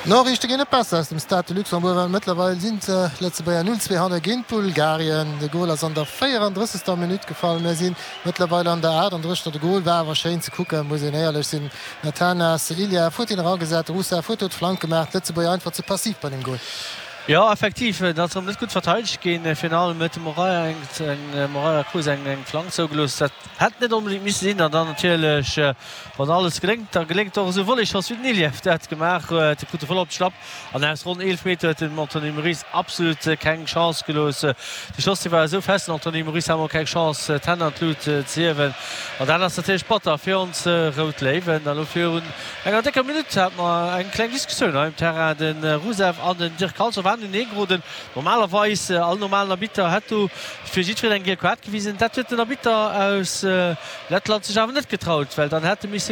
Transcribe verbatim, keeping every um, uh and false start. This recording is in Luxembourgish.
D'Noriichte ginn net besser aus dem Stade de Luxembourg, well mëttlerweil sinn d'Lëtzebuerger null zwee hanne géint Bulgarien. De Gol ass an der véierandrëssegster Minutt gefall. Mir si mëttlerweil an der aachtanddrëssegster. De Gol war awer schéin ze kucken, muss een éierlech sinn. Natanas Iliev huet hien eragesat, de Rusev huet do d'Flank gemaach. D'Lëtzebuerger einfach ze passiv bei deem Gol. Jo, effektiv, et ass erëm net gutt verteidegt ginn. Virun allem huet de Moreira eng Moreira Cruz eng Flank zougelooss. Dat hätt net onbedéngt misse sinn. An dann natierlech, wann alles geléngt, da geléngt och esou e Volleyschoss, wéi den Iliev dat gemaach huet. E krut de voll op d'Schlapp an aus ronn eelef Meter huet den Anthony Moris absolut keng Chance gelooss. De Schoss, dee war esou fest, den Anthony Moris hat emol keng Chance, d'Hänn an d'Lut ze hiewen. An dat ass natierlech batter fir ons Rout Léiwen. An elo virun enger décker Minutt hate mer eng kleng Diskussioun hei um Terrain. De Rusev an den Dirk Kalthoff waren unenee geroden. Normalerweis, all normalen Arbitter hätt do fir jiddwereen eng giel Kaart gewisen. Dat huet den Arbitter aus Lettland sech awer net getraut, well dann hätt e misse.